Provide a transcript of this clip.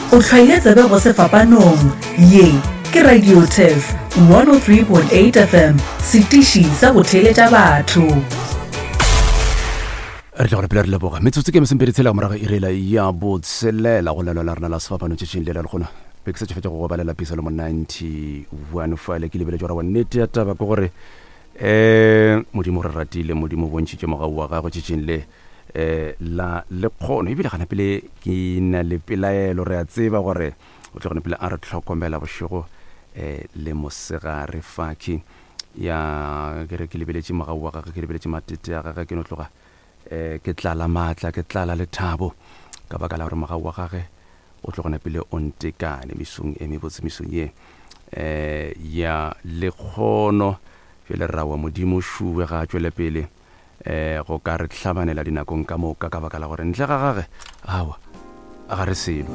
O hlwaile tsebe go sefapanong. Ye ke Radio Turf 103.8 FM, setiši sa go theeletša batho. Re tla gore pele re leboga metsotso ke mesempedi tshela morago irela ya botshelela go lelwa la rena la sefapano tšetšing le la lekgono be ke sa tšofetša go go balela pisalomo 91 fale ke lebeletše gore wa nnete ya taba ke gore um modimo re ratile modimo o bontšhitše mogau wa gagwe tšetšing le um la lekgono ebile gana pele ke na le pelaelo re a tseba gore o tlo gona pele a re tlhokomela bošego um le mosegare fakhi ya ke re ke lebeletše mogau wa gagwe ke lebeletše matete a gagwe ke no tloga um ke tlala maatla ke tlala lethabo ka baka la gore mogau wa gage o tlo gona pele o ntekane mesong e mebotse mesong ye um ya lekgono jale rra wa modimo šuwe ga a tšwele pele um go ka re hlabanela dinakong ka moka ka baka la gore ntle ga gage awa ga re selo.